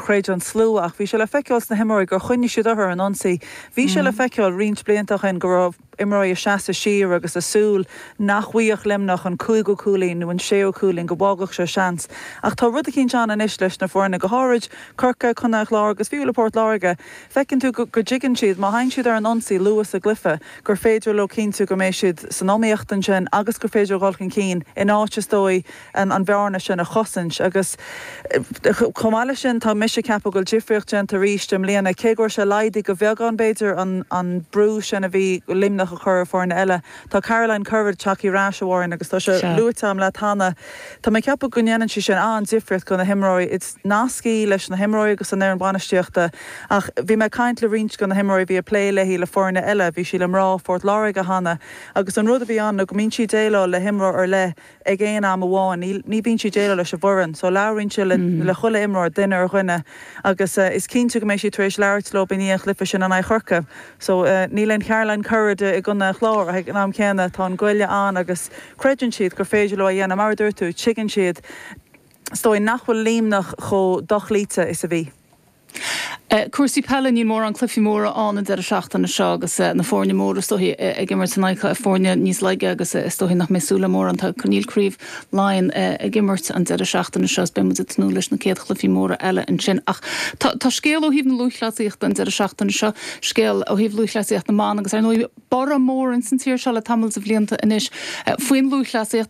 chreid an slua ach bhí sé le feiceáil sna himreoirí gur choinnigh siad orthu ar an ionsaí. Bhí sé le feiceáil roinnt blianta ó shin go raibh imreoirí ag seasamh siar agus ag súil nach bhfaigheadh Luimneach an cúigiú cúilín nó an séú cúilín, go bhfágfadh sé seans. Ach tá rud eicínt ann anois leis na foirne, go háirid Corcaigh, Contae an Chláir agus fiú le Port Láirge, feiceann tú go dtuigeann siad, má théann siad ar an ionsaí luath sa gcluiche, gur féidir leo cinntiú go mbeidh siad san iomaíocht ansin agus gur féidir dhul chun cinn in áit, is dóigh, an bhearna sin a chosaint. Agus chomh maith leis sin, tá mise ag ceapadh go bhfuil difríocht déanta arís i mbliana, cé go raibh sé laghdaithe go beagán b'fhéidir, an brú sin a bhí Luimneach a chur ar foirne eile. Tá Caroline Currid tagtha ar ais, a Mháirín, agus tá sé luaite agam leat cheana. Tá mé ag ceapadh go ndéanann sí sin an-difríocht do na himreoirí. Is nasc í leis na himreoirí agus an fhoireann bainistíochta. Ach bhí mé ag caint le roinnt de na himreoirí a bhí ag plé léi le foirne eile, bhí sí le mná Phort Láirge cheana, agus an rud a bhí ann ná go mbíonn sí ag déileáil le himreoir ar leith ag aon am amháin. Ní bhíonn sí ag déileáil leis an bhfoireann. So labhraíonn sí le chuile imreoir, duine ar dhuine, agus is cinnte go mbeidh sí tar éis labhairt leo i ndiaidh an chluiche sin in aghaidh Chorcaí. So níl aon Charoline Currid i gContae an Chláir ach ag an am céanna tá an goile ann agus creideann siad gur féidir leo a dhéanamh. Mar a dúirt tú, tuigeann siad, is dóigh, nach bhfuil Luimneach chomh dochloíte is a bhí. Cúrsaí peile, níl mórán cluichí móra ann an deireadh seachtaine seo agus na foirne móra is dóichí ag imirt in aghaidh foirne níos laige agus is dóichí nach mbeidh súil le mórán. Tá níl Craobh Laighean ag imirt an deireadh seachtaine seo is beidh muid ag tnúth leis na céad chluichí móra eile ansin. Ach tá scéal ó thaobh na lúthchleasaíochta an deireadh seachtaine seo, scéal ó thaobh lúthchleasaíocht na mban agus ar ndóigh borradh mór ins an tír seo le tamall de bhlianta anois faoin lúthchleasaíocht.